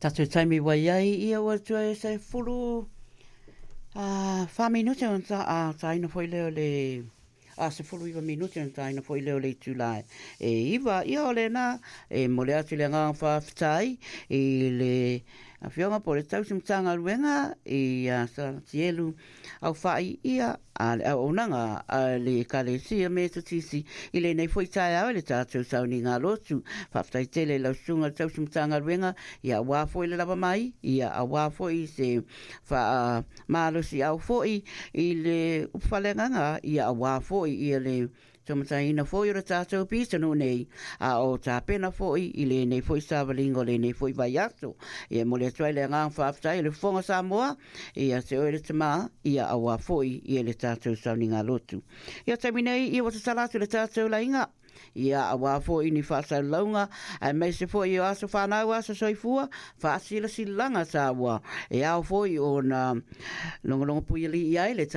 Tatou taimi ua i ai, ia ua toe 14 minute ona taina foi lea o le a 19 minute ona taina foi lea o le itula e 9. Ia o lena e momoli atu le agaga faafetai i le Afioga po o le Tausi Matagaluega ia Salatielu Aufai ia a le auaunaga a le Ekalesia Metotisi i lenei foi taeao i le tatou sauniga lotu. Faafetai tele i lau susuga i le Tausi Matagaluega, ia aua foi le lava mai, ia aua foi se faamalosiau foi i le upufaialeagaga, ia aua foi ia le taumataiina foi o le tatou pitonuu nei, a o tapena foi i lenei foi savaliga o lenei foi vaiaso. Ia e momoli atu ai le agaga faafetai o le Fofoga Samoa ia te oe le tama, ia aua foi ia le tatou sauniga lotu. Ia taimi nei, ia ua tatala atu le tatou laiga, ia aua foi ni faasalalauga aemaise foi o aso fanau, aso soifua, faasilasilaga taua e ao foi ona logologo puialii ai le.